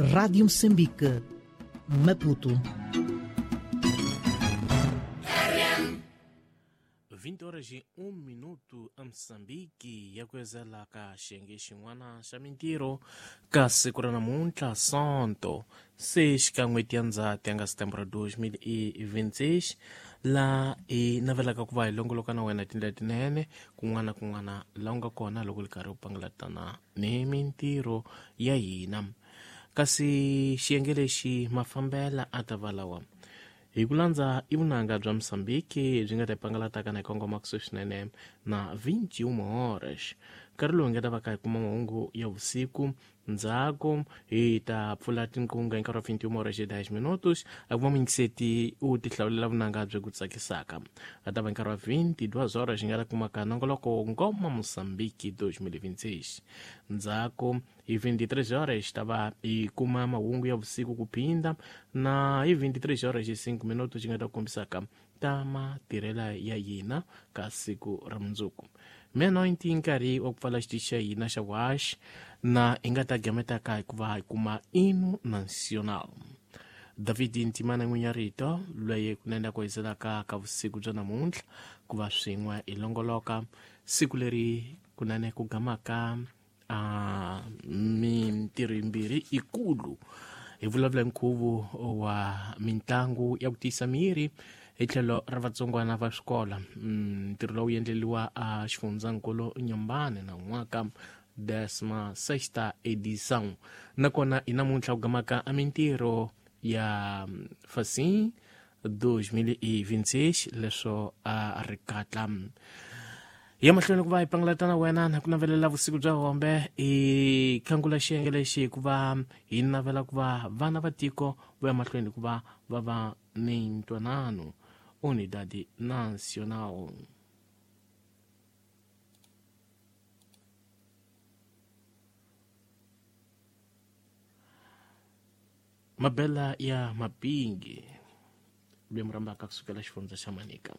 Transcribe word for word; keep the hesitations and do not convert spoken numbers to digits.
Rádio Moçambique, Maputo. vinte horas e um minuto a Moçambique ya kuezela ka xiyenge xin'wana xa mintirho ka siku ra namuntlha Sonto seis ka n'hweti ya Ndzhati ya nga Setembro dois mil e vinte e seis la hi navelaka ku va hi longoloka na wena tindlela tinene kun'wana na kun'wana la u nga kona loko li karhi u pangalatana ni mintirho ya hina. Kasi xiyenge lexi mafambela a ta va lawa hi ku landza i vunanga bya Moçambique byi nga ta pangalataka na hi kongoma kusuhi swinene na vinte e uma horas nkarhi lowu hi nga ta va ka hi kuma mahungu ya vusiku. Ndzhaku hi ta pfula tinqunga hi nkarhi wa vinte e uma horas e dez minutos a kuma muyingiseti u tihlawulela vunanga byi ku tsakisaka. A ta va nkarhi wa vinte e duas horas hi nga ta kumaka nongoloko Ngoma Moçambique dois mil e vinte e seis. Ndzhaku hi vinte e três horas ta va hi kuma mahungu ya vusiku ku phinda na hi vinte e três horas e cinco minutos hi nga ta kombisaka ta matirhela ya hina ka siku ra mundzuku. Meia-noite nkarhi wa ku pfala xitichi xa hina xa vuhaxi na hi nga ta gametaka hikuva hi kuma Hino Nacional. David Ntimana n'winyi ya rito loyi kunene ku hiselaka ka vusiku bya namuntlha ku va swin'we hi longoloka siku leri kunene ku gamaka a mintirho yimbirhi ikulu. Hi vulavula nkhuvo wa mitlangu ya ku tiyisa miri hi tlhelo ra vatsongwana va swikola. Ntirho lowu endleriwa a xifundzankulu Nyambane na n'waka décima sexta edição. Nakona hi namuntlha ku gamaka a mintirho ya Facim dois mil e vinte e seis leswo a ri katla ya mahlweni ku va hi pangalatana wena na ku navelela vusiku bya hombe hi khangula xiyenge lexi hikuva hi navela ku va vana va tiko va ya mahlweni ku va va va ni ntwanano. Unidade Nacional. Mabela ya Mapingi lwe murambaka kusukela xifundza xa Manika.